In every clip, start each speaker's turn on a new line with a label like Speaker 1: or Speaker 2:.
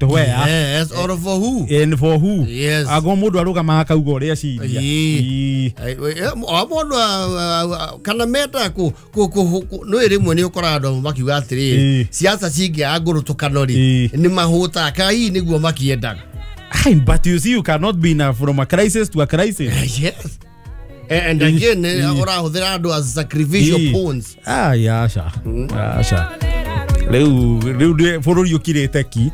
Speaker 1: Where?
Speaker 2: Yes, or for who?
Speaker 1: And for who?
Speaker 2: Yes.
Speaker 1: Ago mundu arugama akauga uria aciria.
Speaker 2: O mundu kana meta ku no rimwe ni ukora andu makiuga atiriri siasa cingiaga ngũrũtũkano ri ni mahũtaga kana hihi nĩguo makiendaga.
Speaker 1: But you see, you cannot be from a crisis to a crisis.
Speaker 2: Yes. And again, ũrahũthĩra andũ as sacrificial pawns.
Speaker 1: Ah, yeah, sha. Sha. Rĩu rĩu bũrũri ũkirĩte ki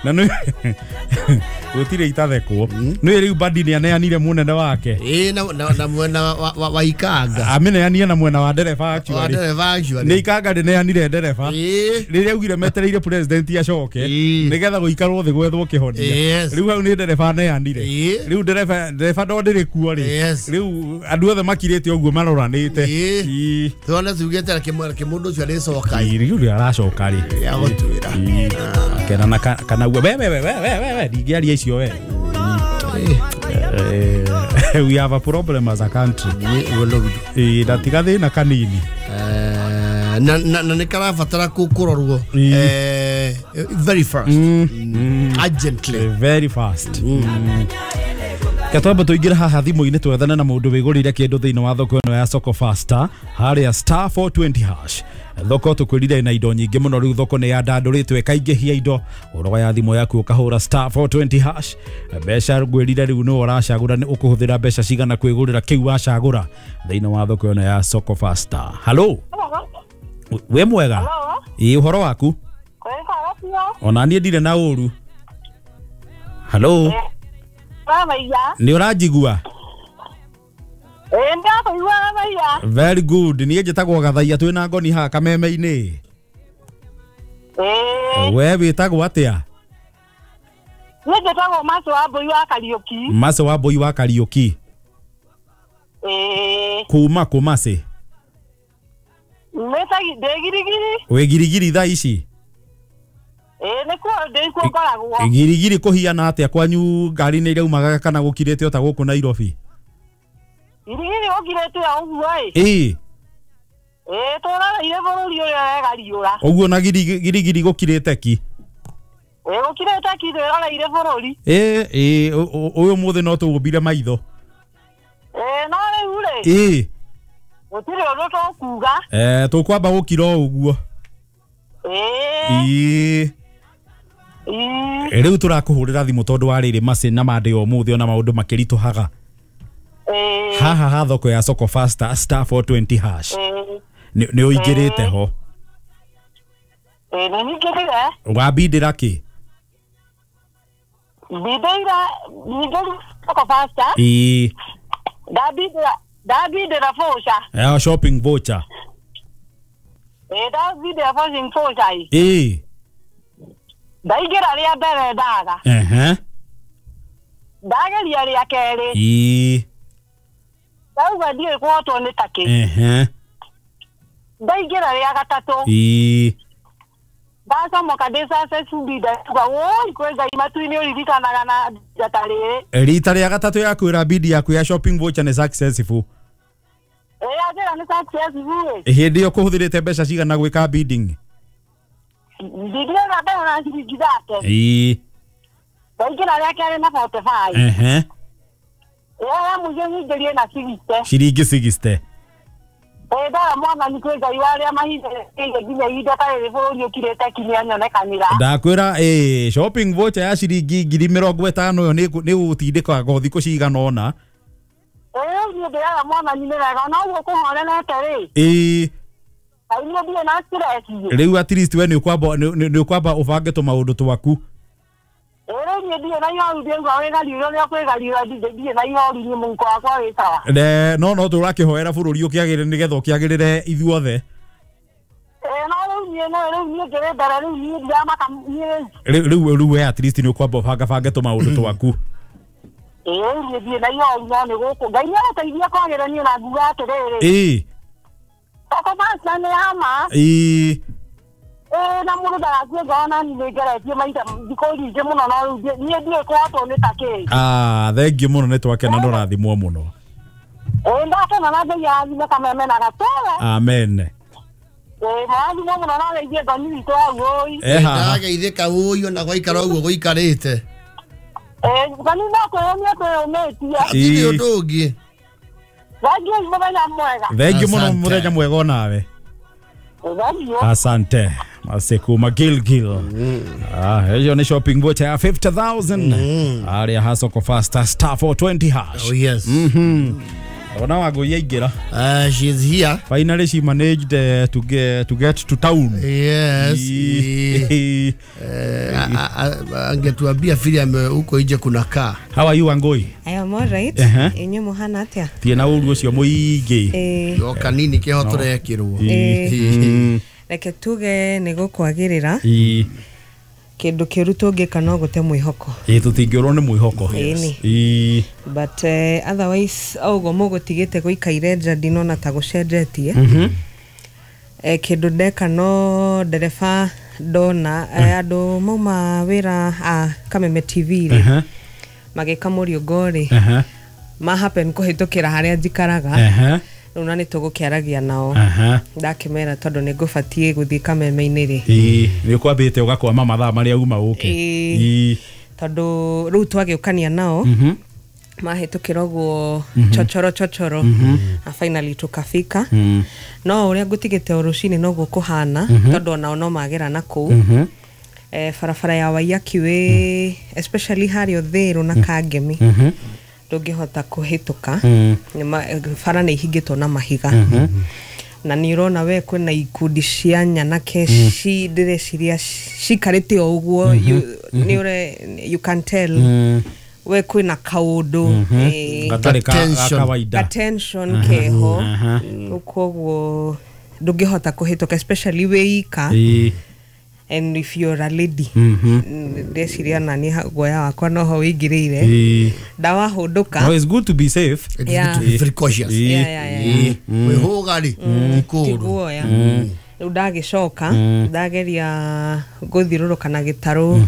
Speaker 1: na nĩ gũtirĩ itathekwo nĩ rĩu Badi nĩ aneanire mũnene wake
Speaker 2: na mwena wa Ikanga
Speaker 1: ameneanire na mwena wa ndereba actually nĩ Ikanga ndĩneanire ndereba rĩrĩa augire metereire president acoke nĩgetha gũikarwo thĩ gwethwo kĩhonia rĩu hau nĩ ndereba aneanire rĩu ndereba ndo ndĩrĩ kuo rĩ rĩu andũ othe makirĩte ũguo maroranĩte
Speaker 2: tuone tugĩte kĩmũndũ ũcio arĩcoka
Speaker 1: rĩu aracoka rĩ
Speaker 2: ya gũtuĩra
Speaker 1: kena na kana we we we we we ndingĩaria icio we. We have a problem as a country. Na tiga thĩna kanini
Speaker 2: na nĩ karabatara kũrorwo very fast, urgently,
Speaker 1: very fast. Katwamba tuingire haha thimũ-inĩ twethane na mũndũ wĩgũrĩire kĩndũ thĩinĩ wa thoko ĩno ya Soko Faster harĩa star 420 hash. Thoko tũkwĩrire na indo nyingĩ mũno rĩu thoko nĩ yandandũrĩtwo ĩkaingĩhia indo ũroya thimũ yaku ũkahũra star 420 hash mbeca ngwĩrire rĩu nĩwe ũracagũra nĩ ũkũhũthĩra mbeca cigana kwĩgũrĩra kĩu wacagũra thĩinĩ wa thoko ĩno ya Soko Faster. Hello, wĩ mwega? Ĩ ũhoro waku? Ona niĩ ndirĩ na ũru. Hello, nĩ ũranjigua? Very good. Niĩ njĩtagwo Gathaiya twĩna ngoni haha kameme-inĩ. We wĩtagwo atĩa?
Speaker 3: Niĩ njĩtagwo Maso wa Mbũi wa Kariũki.
Speaker 1: Maso wa Mbũi wa Kariũki. Kuma kũ Mace?
Speaker 3: Ndĩ Girigiri.
Speaker 1: Wĩ Girigiri thaa ici?
Speaker 3: Nĩkuo ndĩkuo ngoragwo.
Speaker 1: Girigiri kũhiana atĩa kwanyu ngari nĩ iraumaga kana gũkirĩte o ta gũkũ Nairobi?
Speaker 3: Girigiri gũkirĩte o ũguo ĩ.
Speaker 1: Ĩ.
Speaker 3: Tũroreire bũrũri ũrĩa wegariũra.
Speaker 1: Ũguo na Girigiri gũkirĩte ki?
Speaker 3: Gũkirĩte ki twĩroreire bũrũri.
Speaker 1: Ĩ ũyũ mũthĩ no tũgũmbire maitho.
Speaker 3: No rĩu rĩ.
Speaker 1: Ĩ.
Speaker 3: Gũtirĩ ũndũ tũkuga.
Speaker 1: Tũkwamba gũkira o ũguo. Ĩ. Rĩu tũrakũhũrĩra thimũ tondũ wa rĩrĩ Mace na mande o mũthĩ ona maũndũ makĩritũhaga. Haha ha thoko ya Soko Faster star 420 hash nĩ ũingĩrĩte ho?
Speaker 3: Nĩ nyingĩrire.
Speaker 1: Wambindĩra kĩ?
Speaker 3: Mbindĩire nyingĩrire Soko Faster.
Speaker 1: Ĩ.
Speaker 3: Ndambindĩra voucher.
Speaker 1: Shopping voucher.
Speaker 3: Ndambindĩra shopping voucher.
Speaker 1: Ĩ.
Speaker 3: Ndaingĩra rĩa mbere ndaga. Ndageria rĩa kerĩ.
Speaker 1: Ĩ.
Speaker 3: Ndauga ndiũĩ kũhotwo nĩ ta kĩ. Ndaingĩra rĩa gatatũ.
Speaker 1: Ĩ.
Speaker 3: Ndacomoka ndĩ successful ndauga woi kwĩ Ngai matu-inĩ ũririkanaga na njata rĩrĩ.
Speaker 1: Rita rĩa gatatũ yakwĩra bidi yaku ya shopping voucher nĩ successful.
Speaker 3: Yanjĩra nĩ successful.
Speaker 1: Hĩndĩ ĩyo kũhũthĩrĩte mbeca cigana gwĩka bidding?
Speaker 3: Ndingĩra mbere na ciringi thate.
Speaker 1: Ĩ.
Speaker 3: Ndaingĩra rĩa kerĩ na 45. Ya mũico nyingĩrie na 60.
Speaker 1: Ciringi 60.
Speaker 3: Ndara mwathani kwĩ Ngai wa arĩa mahithĩrĩire nginya ihinda ta rĩrĩ bũrũri ũkirĩte ki nĩanyonekanĩra.
Speaker 1: Ndakwĩra shopping voucher ya ciringi 50,000 ĩyo nĩ gũgũtindĩka go thikũ cigana ũna.
Speaker 3: Rĩu niĩ ndĩraga mwathani nĩ wega ona ũguo kũhorerete rĩ.
Speaker 1: Ĩ.
Speaker 3: Niĩ ndirĩ na stress.
Speaker 1: Rĩu at least we nĩ ũkwamba ũbange tũmaũndũ twaku.
Speaker 3: Rĩu niĩ ndirĩ na ihoru ndĩrauga wĩgariũra ũrĩa kwĩgariũra ndirĩ na ihoru niĩ mũhuko wakwa wĩ sawa.
Speaker 1: No tũrakĩhoera bũrũri ũkĩagĩrĩre nĩgetha ũkĩagĩrĩre ithuothe.
Speaker 3: No rĩu niĩ no rĩu niĩ ngĩrĩ mbere rĩu niĩ ndiramaka niĩ
Speaker 1: rĩu rĩu we at least nĩ ũkwamba ũbangabange tũmaũndũ twaku.
Speaker 3: Rĩu niĩ ndirĩ na ihoru no nĩ gũkũ Ngai nĩagũteithia kwagĩra niĩ na nguga atĩrĩrĩ.
Speaker 1: Ĩ.
Speaker 3: Soko Faster nĩ ya ma.
Speaker 1: Ĩ.
Speaker 3: Na mũndũ ndagakue ngoro na niĩ nĩngeretie maita thikũ nyingĩ mũno no rĩu niĩ ndiũĩ kũhotwo nĩ ta kĩ.
Speaker 1: Thengiũ mũno nĩ twakena na ũrathimwo mũno.
Speaker 3: Ndakena na Ngai arathime kameme na gatũre.
Speaker 1: Amen.
Speaker 3: Mwathimwo mũno na geithie ngoni witũ hau ũi.
Speaker 2: Ndageithĩka ũi ona gwaikara ũguo gũikarĩte.
Speaker 3: Ngoni no kwĩyũmia kwĩyũmĩtie.
Speaker 2: Hatirĩ ũndũ ũngĩ.
Speaker 3: Thengiũ mũthenya mwega.
Speaker 1: Thengiũ mũno mũthenya mwega onawe. Asante. Masekuma Gilgil. Hiyo ni shopping voucher ya 50,000. Aria Soko Fasta star 420 hash.
Speaker 2: Oh yes.
Speaker 1: Ona Wangũi aingĩra.
Speaker 2: She's here.
Speaker 1: Finally she managed to get to town.
Speaker 2: Yes. Angetuambia vile huko nje kuna kaa.
Speaker 1: How are you Wangũi?
Speaker 4: I am all right. Inyu muhana atia?
Speaker 1: Tie na uru ucio muingi.
Speaker 2: Yoka nini kiho turekirwo.
Speaker 4: Reke tuge nĩ gũkwagĩrĩra. Kĩndũ kĩũru tũngĩka no gũte mwĩhoko.
Speaker 1: Tũtingĩũrwo nĩ mwĩhoko.
Speaker 4: But otherwise ũguo mũgũtigĩte gũikaire nja ndinona ta gũcenjetie. Kĩndũ ndeka no ndereba ndona andũ mauma wĩra a Kameme TV rĩ magĩka mũriũngo rĩ ma happen kũhĩtũkĩra harĩa njikaraga. Rĩu na nĩ tũgũkĩaragia nao. Ndakĩmera tondũ nĩ ngũbatiĩ gũthiĩ Kameme-inĩ rĩ.
Speaker 1: Nĩ ũkwambĩte ũgakwama mathaa marĩa uma ũke.
Speaker 4: Tondũ rĩu twagĩũkania nao mahĩtũkĩra ũguo chochoro chochoro na finally tukafika. No ũrĩa ngũtigĩte o rũcinĩ noguo kũhana tondũ onao no magera na kũu. Barabara ya Waiyaki Way especially harĩa Ũthĩrũ na Kangemi ndũngĩhota kũhĩtũka. Bara nĩ ihingĩtwo na mahiga. Na nĩ ũrona we kwĩna ikundi cia nyanake ndĩreciria cikarĩte o ũguo you can tell we kwĩna kaũndũ
Speaker 1: gatarĩ ka kawaida,
Speaker 4: attention keho, koguo ndũngĩhota kũhĩtũka especially wĩ ika. And if you're a lady, ndeciria nani guoya wakwa noho wĩingĩrĩire ndawahũndũka.
Speaker 1: No, it's good to be safe.
Speaker 2: It's good to be precautious. Wĩhũga rĩ ti
Speaker 4: guoya. Rĩu ndagĩcoka ndageria gũthiũrũrũka na gĩtarũ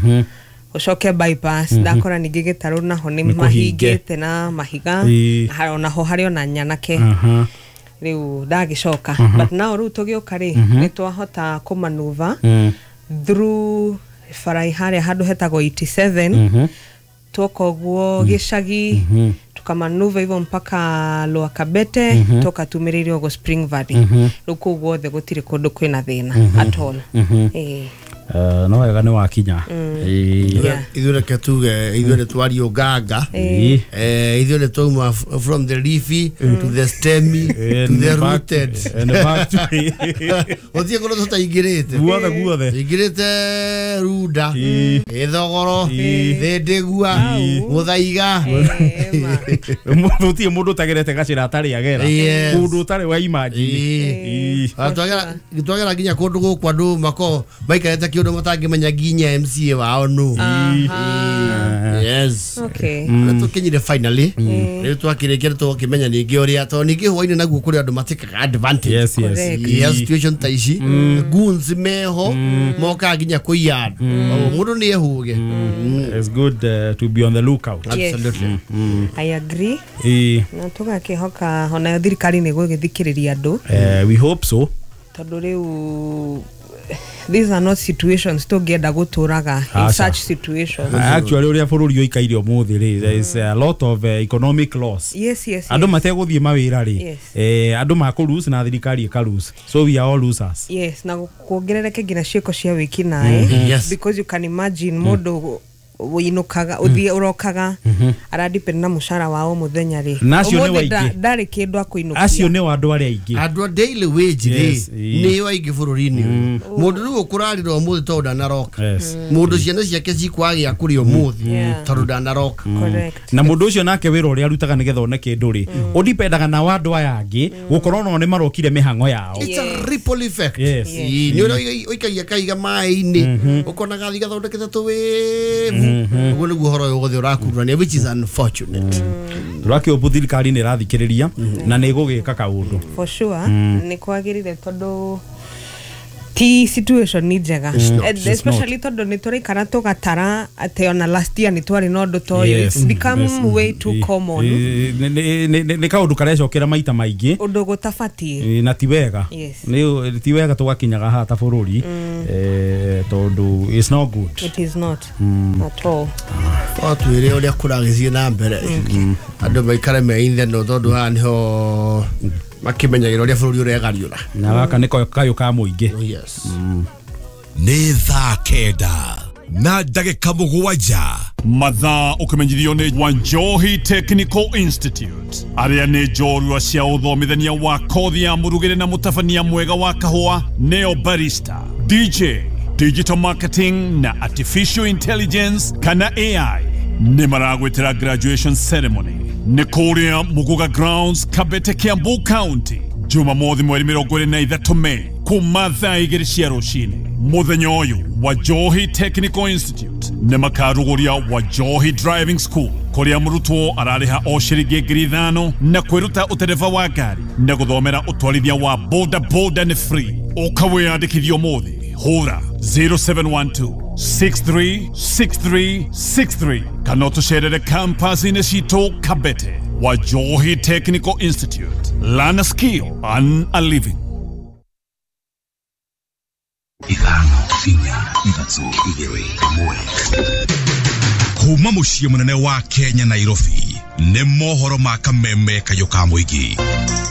Speaker 4: ũcoke bypass, ndakora ningĩ gĩtarũ naho nĩ mahingĩte na mahiga, onaho harĩ ona nyanake. Rĩu ndagĩcoka but now rĩu tũgĩũka rĩ nĩ twahota kũmanuva through bara harĩa handũ hetagwo 87 tuoka ũguo gĩcagi tukamanuva hivyo mpaka Lower Kabete toka tumĩrĩire ũguo Spring Valley. Rĩu kũu guothe gũtirĩ kũndũ kwĩna thĩna at all.
Speaker 1: No wega nĩ wakinya.
Speaker 2: Ithuĩ reke tuge ithuĩ nĩ twario nganga. Ithuĩ nĩ twauma from the leafy to the stemmy to the rooted
Speaker 1: and back to
Speaker 2: gũtirĩ kũndũ tũtaingĩrĩte.
Speaker 1: Guothe guothe
Speaker 2: ingĩrĩte Runda, Ithogoro, Thĩndĩgua, Mũthaiga.
Speaker 1: Gũtirĩ mũndũ ũtagerete gacĩra atarĩ agera kũndũ ũtarĩ wa imagine.
Speaker 2: Twagera nginya kũndũ gũkũ andũ makoragwo maikarĩte kĩũndũ matangĩmenya nginya MCA wao nũ. Yes.
Speaker 4: Okay.
Speaker 2: Tũkinyire finally. Rĩu twakĩrĩkia tũgakĩmenya ningĩ ũrĩa tondũ ningĩ hwainĩ naguo kũrĩ andũ matĩkaga advantage.
Speaker 1: Yes, yes.
Speaker 2: Yes, situation ta ici goons meho mokaga nginya kũiya andũ. Mũndũ nĩ ehũge.
Speaker 1: It's good to be on the lookout.
Speaker 2: Absolutely.
Speaker 4: I agree. Na tũgakĩhoka onayo thirikari nĩ gũgĩthikĩrĩria andũ.
Speaker 1: We hope so.
Speaker 4: Tondũ rĩu these are not situations tũngĩenda gũtũraga in such situations.
Speaker 1: Actually ũrĩa bũrũri ũikaire ũmũthĩ rĩ, there is a lot of economic loss.
Speaker 4: Yes, yes.
Speaker 1: Andũ mategũthiĩ mawĩra rĩ, andũ makũ na thirikari ĩka lose. So we are all losers.
Speaker 4: Yes, na kuongerereke nginya ciĩko cia wĩkinaĩ.
Speaker 2: Yes.
Speaker 4: Because you can imagine mũndũ ũinũkaga ũthiĩ ũrokaga aradepend na mũcara wao mũthenya rĩ. Ũmũthĩ ndarĩ kĩndũ akũinũkia.
Speaker 1: Acio nĩ andũ arĩa aingĩ.
Speaker 2: Andũ a daily wage rĩ nĩo aingĩ bũrũri-inĩ ũyũ. Mũndũ rĩu ũkũrarĩra ũmũthĩ tondũ ndanaroka. Mũndũ ciana ciake cikwagĩa kũrĩa ũmũthĩ tondũ ndanaroka.
Speaker 1: Na mũndũ ũcio nake wĩra ũrĩa arutaga nĩgetha one kĩndũ rĩ, ũdipendaga na andũ aya angĩ gũkorwo nao nĩ marokire mĩhang'o yao.
Speaker 2: It's a ripple effect. Nĩ ũrĩa ũikagia kaiga maĩ-inĩ ũkona gathi gathondekete tũwĩvu. Ũguo nĩguo ũhoro ũyũ wothe ũrakururania, which is unfortunate.
Speaker 1: Tũrakĩũmbu thirikari nĩ ĩrathikĩrĩria na nĩ ĩgũgĩka kaũndũ.
Speaker 4: For sure nĩ kwagĩrĩire tondũ Ti situation ni njega.
Speaker 1: It's
Speaker 4: Especially tondũ nĩ tũraikara tũgatara atĩ ona last year nĩ twarĩ na ũndũ ta ũyũ.
Speaker 1: Yes.
Speaker 4: It's become
Speaker 1: Yes.
Speaker 4: way too common.
Speaker 1: Nĩ kaũndũ karecokera maita maingĩ.
Speaker 4: Ũndũ gũtabatiĩ.
Speaker 1: Na ti wega.
Speaker 4: Yes.
Speaker 1: Nĩ ti wega tũgakinyaga haha ta bũrũri, tondũ it's not good.
Speaker 4: It is not at all.
Speaker 2: No twĩre ũrĩa kũragĩthiĩ na mbere, andũ maikare me itheno, tondũ haha nĩho makĩmenyagĩra ũrĩa bũrũri ũregariũra.
Speaker 1: Na gaka nĩko kayũ ka mũingĩ.
Speaker 2: Yes.
Speaker 5: Nĩ 9:07.
Speaker 6: Mathaa ũkĩmenyithio nĩ Wanjohi Technical Institute, arĩa nĩ njorua cia ũthomithania wa kothi ya mũrugĩre na mũtabania mwega wa kahũa, neo barista, DJ, digital marketing na artificial intelligence kana AI. Nĩ maragwĩtĩra graduation ceremony nĩ kũrĩa Muguga Grounds, Kabete, Kiambu County, Jumamothi mweri 23 Mei kuma thaa 2 cia rũcinĩ. Mũthenya ũyũ Wajohi Technical Institute nĩ makarugũria Wajohi Driving School, kũrĩa mũrutwo ararĩha o ciringi 5,000 na kwĩruta ũtereba wa ngari na gũthomera ũtwarithia wa boda boda nĩ free. Ũka wĩyandĩkithie ũmũthĩ, hũra 0712 636363 kana ũtũcerere campus-inĩ citũ Kabete. Wajohi Technical Institute, learn a skill, earn a living.
Speaker 5: 5 4 3 2 1. Kuma mũciĩ mũnene wa Kenya, Nairobi, nĩ mohoro ma kameme kayũ ka mũingĩ.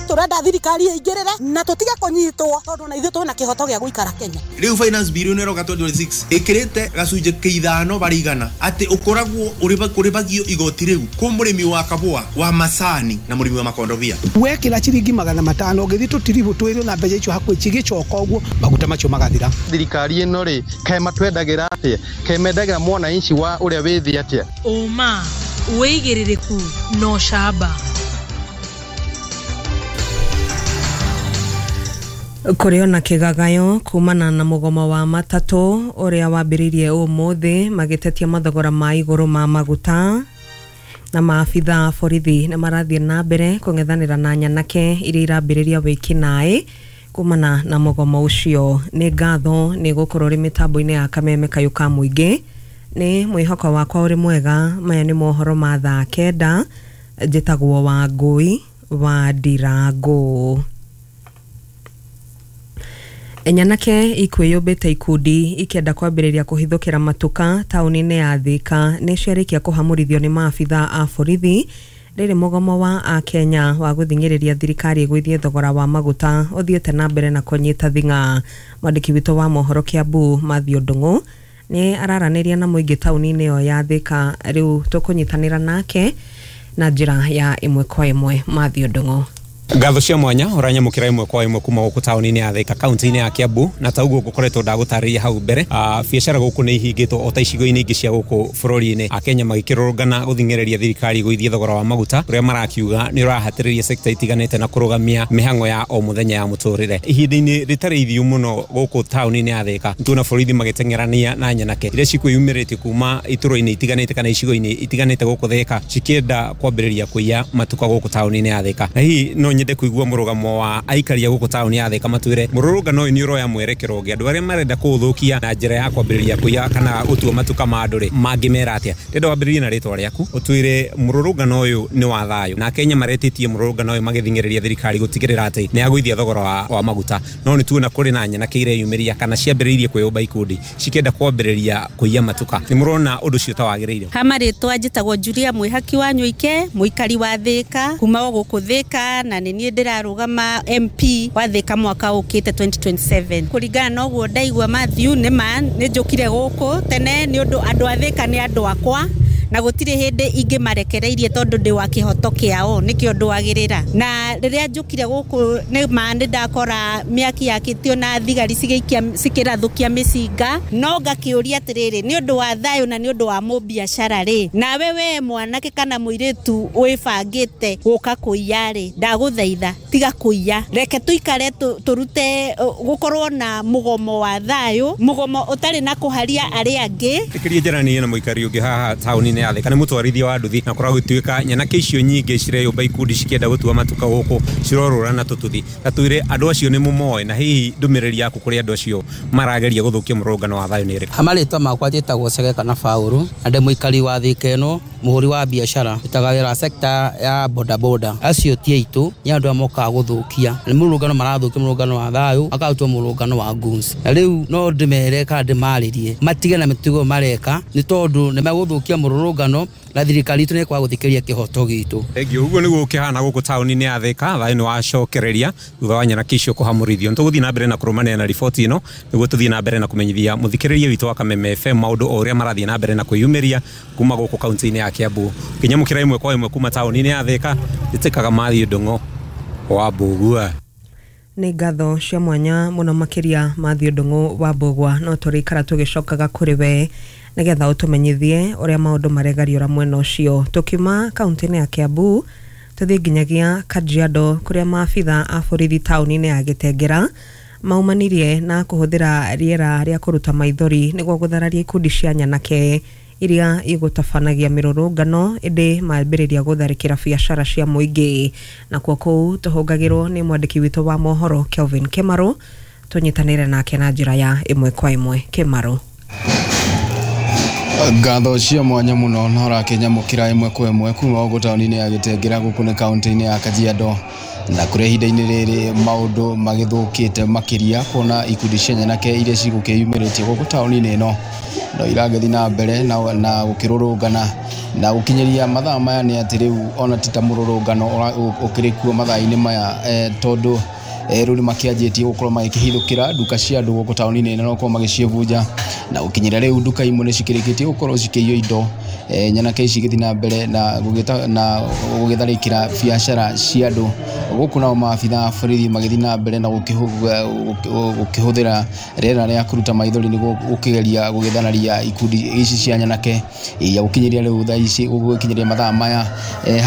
Speaker 7: Turenda thirikari ĩingĩrĩre na tũtige kũnyitwo, tondũ na ithuĩ twĩna kĩhoto gĩa gũikara Kenya.
Speaker 8: Rĩu finance bill ĩno ĩroka 2026 ĩkĩrĩte gacunjĩ kĩa 5%, atĩ ũkoragwo ũrĩbagio igoti rĩu kũ mũrĩmi wa kabũa, wa macani na mũrĩmi wa makondobia.
Speaker 9: Wekĩra ciringi 500 ũgĩthiĩ tũtiribũ twĩrĩ na mbeca icio hakuhĩ cigĩcoka ũguo, maguta macio magathira.
Speaker 10: Thirikari ĩno rĩ, kaĩ matwendagĩra atĩa? Kaĩ mendagĩra mwananchi wa ũrĩa wĩ thĩ atĩa?
Speaker 11: Ũma, wĩigĩrĩrĩku na ũcamba.
Speaker 4: Kũrĩ ona kĩgagayo kumana na mũgomo wa matatũ ũrĩa wambĩrĩirie ũmũthĩ magĩtetia mathogora ma igũrũ ma maguta, na maabitha a borithi nĩ marathiĩ na mbere kũng'ethanĩra na nyanake iria irambĩrĩria wĩkinaĩ kumana na mũgomo ũcio. Nĩ ngatho nĩ gũkorwo ũrĩ mĩtambo-inĩ ya kameme kayũ ka mũingĩ. Nĩ mwĩhoko wakwa ũrĩ mwega. Maya nĩ mohoro ma thaa 9. Njĩtagwo Wangũi wa Ndirangũ. Nyanake ikwĩyũmbĩte ikundi ikĩenda kwambĩrĩria kũhithũkĩra matuka taũni-inĩ ya Thika nĩ ciarĩkia kũhamũrithio nĩ maabitha a borithi rĩrĩ mũgomo wa akenya wa gũthing'ĩrĩria thirikari ĩgũithie thogora wa maguta ũthiĩte na mbere na kũnyita thing'a. Mwandĩki witũ wa mohoro Kiambu Mathew Ndung'u nĩ araranĩria na mũingĩ taũni-inĩ ĩyo ya Thika. Rĩu tũkũnyitanĩra nake na njĩra ya ĩmwe kwa ĩmwe. Mathew Ndung'u.
Speaker 12: Ngatho cia mwanya ũranyamũkĩra ĩmwe kwa ĩmwe kuma gũkũ taũni-inĩ ya Thika, kaunti-inĩ ya Kiambu, na ta ũguo ngũkoretwo ndagũtarĩria hau mbere, biacara gũkũ nĩ ihingĩtwo o ta icigo-inĩ ingĩ cia gũkũ bũrũri-inĩ, akenya magĩkĩrũrũngana gũthing'ĩrĩria thirikari gũithie thogora wa maguta ũrĩa marakiuga nĩ ũrahatĩrĩria sekta itiganĩte na kũrũgamia mĩhang'o ya o mũthenya ya mũtũrĩre. Ihinda-inĩ rĩtarĩ ithiu mũno gũkũ taũni-inĩ ya Thika, nĩtuona borithi magĩteng'erania na nyanake iria cikwĩyumĩrĩtie kuma itũra-inĩ itiganĩte kana icigo-inĩ itiganĩte gũkũ Thika, cikĩenda kwambĩrĩria kũiya matuka gũkũ taũni-inĩ ya Thika. Na hihi no nyende kuigua mũrũgamo wa aikari a gũkũ taũni ya Thika matwĩre mũrũrũngano ũyũ nĩ ũroya mwerekero ũngĩ, andũ arĩa marenda kũũthũkia na njĩra ya kwambĩrĩria kũiya kana gũtua matuka ma andũ rĩ, mangĩmera atĩa? Ndĩrenda wambĩrĩrie na rĩtwa rĩaku, ũtwĩre mũrũrũngano ũyũ nĩ wa thayũ, na Kenya maretĩtie mũrũrũngano ũyũ magĩthing'ĩrĩria thirikari gũtigĩrĩra atĩ nĩ yagũithia thogora wa maguta, no nĩ tuona kũrĩ na nyanake ireyumĩria kana ciambĩrĩirie kwĩyũmba ikundi cikĩenda kwambĩrĩria kũiya matuka. Nĩ mũrona ũndũ ũcio ta wagĩrĩire?
Speaker 13: Ha marĩtwa njĩtagwo Julia Mwĩhaki wa Nyũike, mũikari wa Thika, kuma o gũkũ Thika, na nĩ niĩ ndĩrarũgama MP wa Thika mwaka ũkĩte 2027. Kũringana na ũguo ndaigua Mathew, nĩ ma nĩ njũkire gũkũ tene nĩ ũndũ andũ a Thika nĩ andũ akwa, na gũtirĩ hĩndĩ ingĩmarekereirie tondũ ndĩ wa kĩhoto kĩao, nĩkĩo ndwagĩrĩra. Na rĩrĩa njũkire gũkũ nĩ ma nĩ ndakora mĩaki yakĩtio na thigari cigĩikia cikĩrathũkia mĩcinga, no ngakĩũria atĩrĩrĩ, nĩ ũndũ wa thayũ na nĩ ũndũ wa mũbiacara rĩ, nawe we mwanake kana mũirĩtu wĩbangĩte gũka kũiya rĩ, ndagũthaitha tiga kũiya, reke tũikare tũrute gũkorwo na mũgomo wa thayũ, mũgomo ũtarĩ na kũharia arĩa angĩ.
Speaker 12: Ĩkĩria njaranie na mũikari ũngĩ haha taũni-inĩ ya Thika, nĩ mũtwarithia wa nduthi, na kũragũtuĩka nyanake icio nyingĩ cireyũmba ikundi cikĩenda gũtua matuka gũkũ cirorũra na tũtuthi. Ta twĩre andũ acio nĩ mũmoĩ, na hihi ndũmĩrĩri yaku kũrĩ andũ acio marageria gũthũkia mũrũrũngano wa thayũ nĩ ĩrĩkũ?
Speaker 14: Marĩtwa makwa njĩtagwo Chege kana Baũrũ, na ndĩ mũikari wa Thika ĩno, mũhũri wa biacara, ndutaga wĩra sector ya bodaboda. Acio ti aitũ, nĩ andũ arĩa mokaga gũthũkia, nĩ mũrũrũngano marathũkia mũrũrũngano wa thayũ, makaũtua mũrũrũngano wa goons. Na rĩu no ndĩmere kana ndĩmarĩrie matige na mĩtugo mareka, nĩ tondũ nĩ megũthũkia mũrũrũngano na thirikari itũ nĩ ĩkwaga gũthikĩrĩria kĩhoto gitũ.
Speaker 12: Thengiũ. Ũguo nĩguo ũkĩhana gũkũ taũni-inĩ ya Thika, thayũ nĩ wacokereria thutha wa nyanake icio kũhamũrithio. Nĩ tũgũthiĩ na mbere na kũrũmanĩra na riboti ĩno nĩguo tũthiĩ na mbere na kũmenyithia mũthikĩrĩria witũ wa Kameme FM maũndũ o ũrĩa marathiĩ na mbere na kwĩyumĩria kuma gũkũ kaunti-inĩ ya Kiambu. Ũkĩnyamũkĩra ĩmwe kwa ĩmwe kuma taũni-inĩ ya Thika, njĩtĩkaga Matthew Ndung'o wa Mbũgua.
Speaker 4: Nĩ ngatho cia mwanya mũno makĩria Matthew Ndung'u wa Mbũgua, no tũrĩikara tũgĩcokaga kũrĩ we nĩgetha ũtũmenyithie ũrĩa maũndũ maregariũra mwena ũcio. Tũkiuma kaunti-inĩ ya Kiambu tũthiĩ nginyagia Kajiado kũrĩa maabitha a borithi taũni-inĩ ya Gĩtengera maumanirie na kũhũthĩra rĩera rĩa kũruta maithori nĩguo gũthararia ikundi cia nyanake iria igũtabanagia mĩrũrũngano, ĩndĩ mambĩrĩria gũtharĩkĩra biacara cia mũingĩ. Nakuo kũu tũhũngagĩrwo nĩ mwandĩki witũ wa mohoro Kelvin Kĩmarũ, tũnyitanĩre nake na njĩra ya ĩmwe kwa ĩmwe. Kĩmarũ.
Speaker 15: Ngatho cia mwanya mũno na ũrakĩnyamũkĩra ĩmwe kwa ĩmwe kuma gũkũ taũni-inĩ ya Gĩtengera gũkũ nĩ kaunti-inĩ ya Kajiado, na kũrĩa ihinda-inĩ rĩrĩ maũndũ magĩthũkĩte makĩria kuona ikundi cia nyanake iria cigũkĩyumĩrĩtie gũkũ taũni-inĩ ĩno no iragĩthiĩ na mbere na gũkĩrũrũngana na gũkinyĩria mathaa maya nĩ atĩ rĩu ona ti ta mũrũrũngano ũkĩrĩ kuo mathaa-inĩ maya, tondũ rĩu nĩmakĩanjĩtie gũkorwo magĩkĩhithũkĩra nduka cia andũ gũkũ taũni-inĩ ĩno na gũkorwo magĩciĩbunja, na gũkinyĩra rĩu nduka imwe nĩcikĩrĩkĩtie gũkorwo cikĩiywo indo, nyanake ici igĩthiĩ na mbere na gũgĩtharĩkĩra biacara cia andũ gũkũ, nao maabitha a borithi magĩthiĩ na mbere na gũkĩhũthĩra rĩera rĩa kũruta maithori nĩguo gũkĩgeria gũgĩthararia ikundi ici cia nyanake iria gũkinyĩria rĩu thaa ici gũgĩkinyĩria mathaa maya,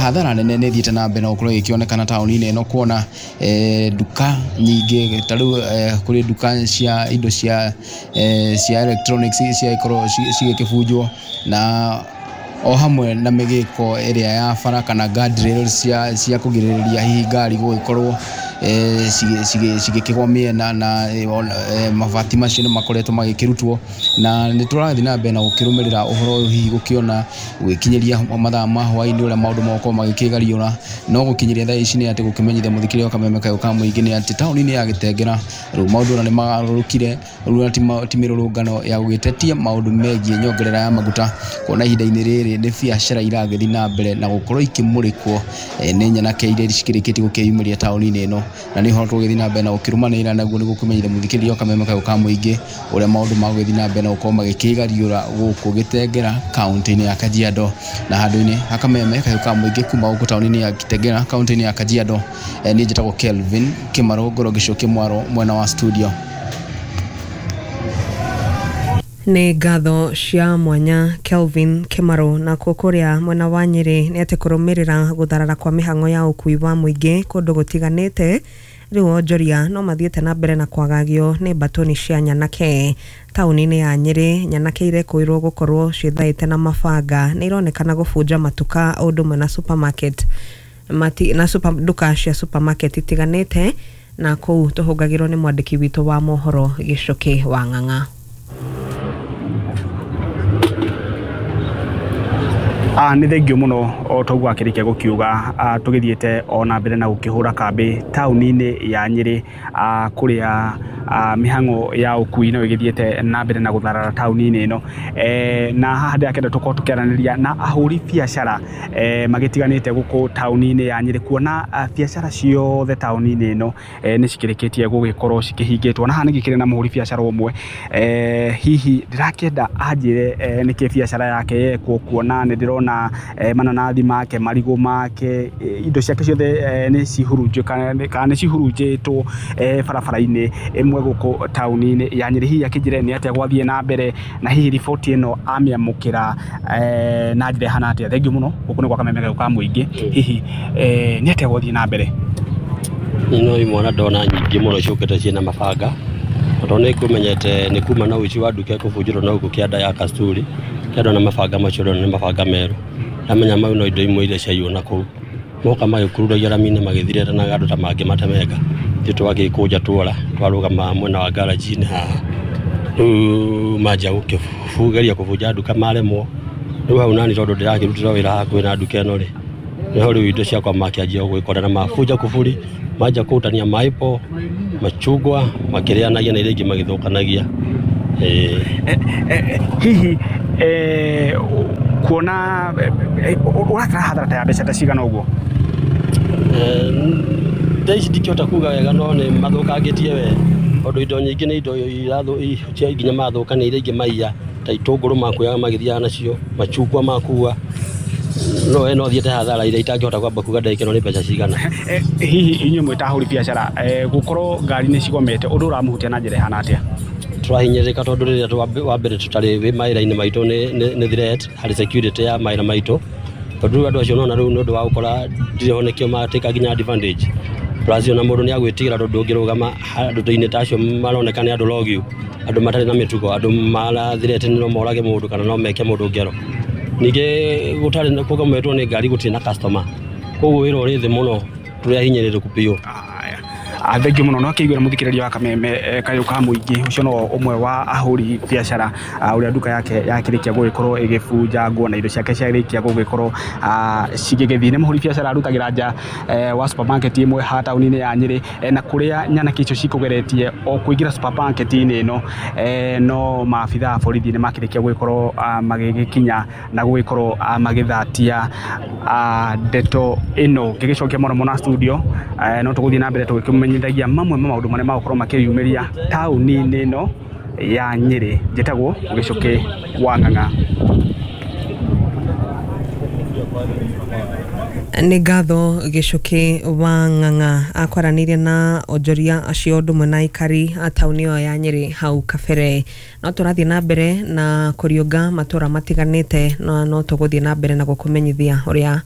Speaker 15: hathara nene nĩ ĩthiĩte na mbere na gũkorwo ĩgĩkĩonekana taũni-inĩ ĩno kuona nduka nyingĩ ta rĩu kũrĩ nduka cia indo cia electronics ciagĩkorwo cigĩkĩbunjwo, na o hamwe na mĩgĩko ĩrĩa ya bara kana guardrails cia kũgirĩrĩria hihi ngari gũgĩkorwo cigĩkĩgwa mĩena, na mabati macio nĩ makoretwo magĩkĩrutwo, na nĩ tũrathiĩ na mbere na gũkĩrũmĩrĩra ũhoro ũyũ hihi gũkĩona gũgĩkinyĩria mathaa ma hwaĩ-inĩ ũrĩa maũndũ megũkorwo magĩkĩgariũra. No gũkinyĩria thaa ici nĩ atĩ gũkĩmenyithia mũthikĩrĩria wa Kameme kayũ ka mũingĩ nĩ atĩ taũni-inĩ ya Gĩtengera rĩu maũndũ ona nĩ magarũrũkire, rĩu ti mĩrũrũngano ya gũgĩtetia maũndũ megiĩ nyongerera ya maguta, kuona ihinda-inĩ rĩrĩ nĩ biacara iragĩthiĩ na mbere na gũkorwo ikĩmũrĩkwo nĩ nyanake iria cikĩrĩkĩtie gũkĩyumĩria taũni-inĩ ĩno, na nĩ ũhoro tũgũgĩthiĩ na mbere na gũkĩrũmanĩrĩra naguo nĩguo kũmenyithia mũthikĩrĩria wa Kameme kayũ ka mũingĩ ũrĩa maũndũ magũgĩthiĩ na mbere na gũkorwo magĩkĩgariũra gũkũ Gĩtengera kaunti-inĩ ya Kajiado. Na handũ-inĩ ha Kameme kayũ ka mũingĩ kuma gũkũ taũni-inĩ ya Gĩtengera kaunti-inĩ ya Kajiado, niĩ njĩtagwo Kelvin Kĩmarũ, ngorwo ngĩcokia mwaro mwena wa studio.
Speaker 4: Nĩ ngatho cia mwanya Kelvin Kĩmarũ. Nakuo kũrĩa mwena wa Nyĩrĩ nĩ atĩ kũrũmĩrĩra gũtharara kwa mĩhang'o ya ũkui wa mũingĩ kũndũ gũtiganĩte, rĩu onjoria no mathiĩte na mbere na kwagagio nĩ mbatũni cia nyanake taũni-inĩ ya Nyĩrĩ. Nyanake irekũirwo gũkorwo ciĩthaĩte na mabanga nĩ ironekana gũbunja matuka o ũndũ ũmwe na supermarket na nduka cia supermarket itiganĩte, na kũu tũhũngagĩrwo nĩ mwandĩki witũ wa mohoro Gĩcũkĩ wa Ng'ang'a.
Speaker 16: Nĩ thengio mũno o toguo akĩrĩkia gũkiuga, tũgĩthiĩte ona mbere na gũkĩhũra kambĩ taũni-inĩ ya Nyĩrĩ, kũrĩa mĩhang'o ya ũkui no ĩgĩthiĩte na mbere na gũtharara taũni-inĩ ĩno, na haha ndĩrakĩenda tũkorwo tũkĩaranĩria na ahũri biacara magĩtiganĩte gũkũ taũni-inĩ ya Nyĩrĩ, kuona biacara ciothe taũni-inĩ ĩno nĩ cikĩrĩkĩtie gũgĩkorwo cikĩhingĩtwo. Na haha nĩngĩkĩrĩ na mũhũri biacara ũmwe, hihi ndĩrakĩenda anjĩre nĩkĩ biacara yake yekwo, kuona nĩ ndĩrona mananathi make, marigũ make, indo ciake ciothe nĩ cihurunjĩtwo kana nĩ cihurunjĩtwo barabara-inĩ ĩmwe gũkũ taũni-inĩ ya Nyĩrĩ. Hihi akĩnjĩre nĩ atĩa gwathiĩ na mbere, na hihi riboti ĩno amĩamũkĩra na njĩra ĩhana atĩa. Thengiũ mũno, gũkũ nĩ gwa Kameme kayũ ka mũingĩ. Hihi nĩ atĩa gwathiĩ na mbere?
Speaker 17: No imwana ndona nyingĩ mũno ciũkĩte ciĩna mabanga, tondũ nĩ ngũmenyete nĩ kuma na ũici wa nduka ĩkũbunjĩrwo na gũkũ kĩanda ya Kasturi. Ndona mabanga macio ndona nĩ mabanga merũ. Ndamenya mau no indo imwe iria ciaiywo na kũu. Moka magĩkururagia rami-inĩ magĩthirĩra na andũ ta mangĩ matemenga. Ithuĩ twagĩkũnja tuora twarũgama mwena wa garage-inĩ haha. Rĩu manjia gũkĩgeria kũbunja nduka maremwo. Rĩu hau nani tondũ ndĩrakĩrutĩra wĩra hakuhĩ na nduka ĩno rĩ, nĩho rĩu indo ciakwa makĩanjia gwĩkora na mabunja kuburi, manjia kũrutania maipo, machungwa makĩrĩanagia na iria ingĩ magĩthũkanagia.
Speaker 16: Hihi kuona ũratara hathara ta ya mbeca ta cigana ũguo?
Speaker 17: Thaa ici ndikĩhota kuga wega no nĩ mathũkangĩtie we tondũ indo nyingĩ nĩ indo cia nginya mathũkania iria ingĩ maiya ta itũngũrũ makuaga magĩthiaga nacio, machungwa makua, no we no thiĩte hathara iria itangĩhota kwamba kuga ndagĩka ĩno nĩ mbeca cigana.
Speaker 16: Hihi inyuĩ mwĩ ta ahũri biacara gũkorwo ngari nĩ cigomete ũndũ ũramũhutia na njĩra ĩhana atĩa?
Speaker 17: Tũrahinyĩrĩrĩka tondũ rĩrĩa wa mbere tũtarĩ wĩ mawĩra-inĩ maitũ nĩ threat harĩ security ya mawĩra maitũ, tondũ rĩu andũ acio nona rĩu nĩ ũndũ wa gũkora ndirĩ ho nĩkĩo matĩka nginya advantage. Plus ona mũndũ nĩ agwĩtigĩra tondũ ndũngĩrũgama andũ-inĩ ta acio maroneka nĩ andũ logiu, andũ matarĩ na mĩtugo, andũ marathirete no morage mũndũ kana no meke mũndũ ngero. Ningĩ gũtarĩ kũgometwo nĩ ngari gũtirĩ na customer, koguo wĩra ũrĩ thĩ mũno, tũrĩ ahinyĩrĩrĩku biũ.
Speaker 16: Thengiũ mũno no akĩiguĩra mũthikĩrĩria wa Kameme kayũ ka mũingĩ ũcio no ũmwe wa ahũri biacara ũrĩa nduka yake yakĩrĩkia gũgĩkorwo ĩgĩbunjangwo na indo ciake ciarĩkia gũgĩkorwo cigĩgĩthiĩ. Nĩ mũhũri biacara arutagĩra nja wa supermarket ĩmwe haha taũni-inĩ ya Nyĩrĩ na kũrĩa nyanake icio cikũgeretie o kũingĩra supermarket-inĩ ĩno no maabitha a borithi nĩ makĩrĩkia gũgĩkorwo magĩgĩkinya na gũgĩkorwo magĩthatia ndeto ĩno. Ngĩgĩcokia mũno mũno studio no tũgũthiĩ na mbere tũgĩkĩmenyithagia mamwe ma maũndũ marĩa magũkorwo makĩyumĩria taũni-inĩ ĩno ya Nyĩrĩ. Njĩtagwo Gĩcũkĩ wa Ng'ang'a.
Speaker 4: Nĩ ngatho Gĩcũkĩ wa Ng'ang'a akwaranĩirie na onjoria acio ũndũ ũmwe na aikari a taũni ĩyo ya Nyĩrĩ hau kabere. No tũrathiĩ na mbere na kũriũnga matũra matiganĩte na no tũgũthiĩ na mbere na gũkũmenyithia ũrĩa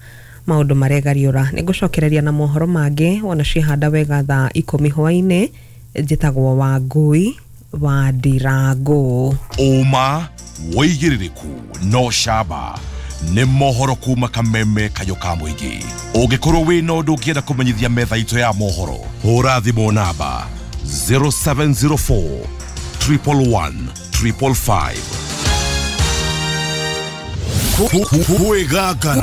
Speaker 4: maũndũ maregariũra. Nĩ ngũcokereria na mohoro mangĩ wona ciĩhanda wega thaa 10 hwaĩ-inĩ. Njĩtagwo Wangũi wa Ndirangũ.
Speaker 5: Ũma wĩigĩrĩrĩku no camba nĩ mohoro kuma Kameme kayũ ka mũingĩ. Ũngĩkorwo wĩna ũndũ ũngĩenda kũmenyithia metha itũ ya mohoro, hũra thimũ namba 0704 111 555.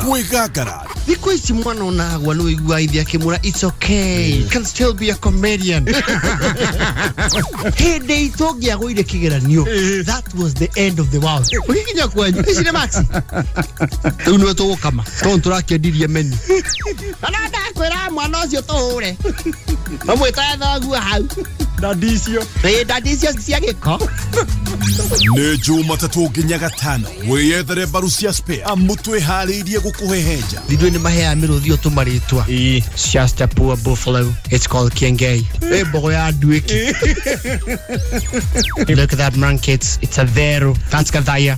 Speaker 5: Kwĩgangara.
Speaker 2: Thikũ ici mwana onagwa nĩ ũiguaga ithe akĩmwĩra it's okay, you can still be a comedian. Hĩndĩ itũ ũngĩagũire kĩgeranio, that was the end of the world. Ũgĩkinya kwanyu ici nĩ maxi rĩu nĩwe tũgũkama tondũ tũrakĩendirie menu. Na ndakwĩra mwana ũcio tũhũre mamwĩtaga thoguo hau
Speaker 16: dadi icio
Speaker 2: dadi icio cia gĩko.
Speaker 5: Nĩ Jumatatũ nginya Gatano wĩyethere mbaru cia spare amu twĩharĩirie gũkũhehenja.
Speaker 2: Ithuĩ nĩ maheaga mĩrũthi ũtũmarĩtwa. It's just a poor buffalo. It's called Kiengei. Ĩ mbogo ya nduĩki. Look at that monkey. It's a vero. That's Gathaya.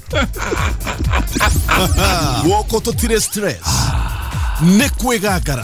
Speaker 5: Guoko tũtirĩ stress. Nĩ kwĩgangara.